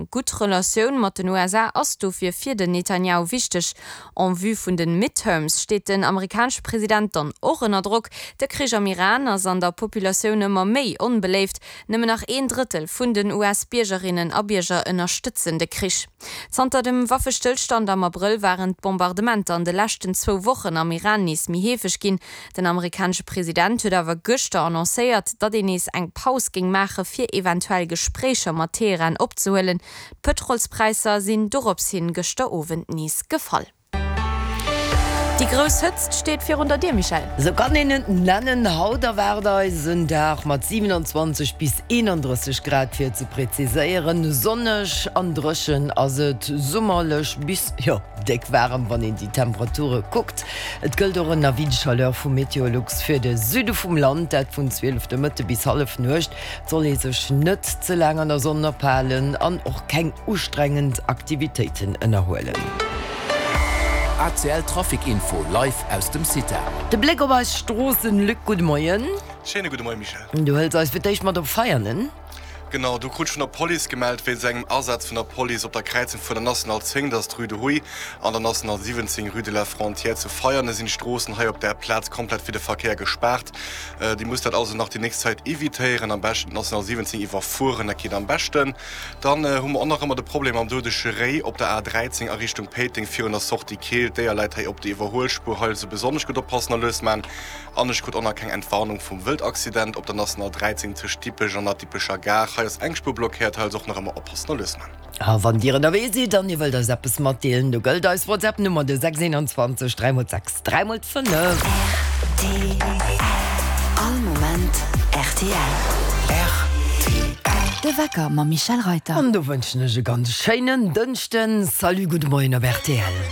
Eng gutt Relatioun mat den USA ass dofir fir den Netanjahu wichteg. En vue vun de Midterms steet den amerikanesche President dann och ënner Drock. De Krich am Iran ass an der Populatioun ëmmer méi onbeléift. Nëmmen nach een Drëttel vun den US-Biergerinnen a Bierger ënnerstëtzen de Krich. Zanter dem Waffestëllstand am Abrëll waren d'Bombardementer an de leschten zwou Wochen am Iran nees méi heefeg ginn. Den amerikanesche President huet awer gëschter annoncéiert, datt een nees eng Paus géing maache fir eventuell Gespréicher mat Teheran opzehuelen. D'Pëtrolspräisser sinn dorops hin gëschter Owend nees gefall. Déi grouss Hëtzt steet virun der Dier, Michèle. Sou kann een et nennen. Haut erwaart eis en Dag mat 27 bis 31 Grad, fir ze präziséieren. Sonneg an dréchen ass et, summerlech bis, jo, déck waarem, wann een déi Temperature kuckt. Et gëllt och en Avis de chaleur vu Meteolux fir de Süde vum Land, dat vun 12 de Mëtte bis Hallefnuecht. Et soll ee sech net ze laang an der Sonn ophalen an och keng ustrengend Aktivitéiten ënnerhuelen. ACL Trafic Info live aus dem CITA. De Bléck op eis Stroossen, Luc, gudde Moien. Schéine gudde Moien, Michèle. Du hëls eis fir d'éischt mat op Veianen. Genau, do krut ech vun der Police gemellt, wéinst engem Asaz vun der Police op der Kräizung vun der National 10, dat ass d'Rue de Houille, an der National 17, Rue de la Frontière zu Veianen, sinn d'Stroossen hei op där Plaz komplett fir de Verkéier gespaart. Dir musst dat also nach déi nächst Zäit evitéieren, am beschten d'National 17 iwwerfueren, dat geet am beschten. Dann hu mer och nach ëmmer de Problem mam doudege Réi op der A 13 a Richtung Péiteng virun der Sortie Keel. D'Déier läit hei op der Iwwerhuelspuer, hei also besonnesch gutt oppassen a lues man. An ech krut och nach keng Entwarnung vum Wëldaccident op der National 13 tëscht Dippech an der Dippecher Gare. Hei ass eng Spuer blockéiert, hei also och nach ëmmer oppassen a lues man. A wann Dir ënnerwee sidd an Dir wëllt eis eppes matdeelen, do gëllt eis WhatsApp Nummer de 6 21 3 x 6 3 x 5. Rtl, All Moment rtl. Rtl. De Wecker mam Michèle Reyter. An do wënschen ech e ganz schéinen Dënschden. Salut, gudde Moien op rtl.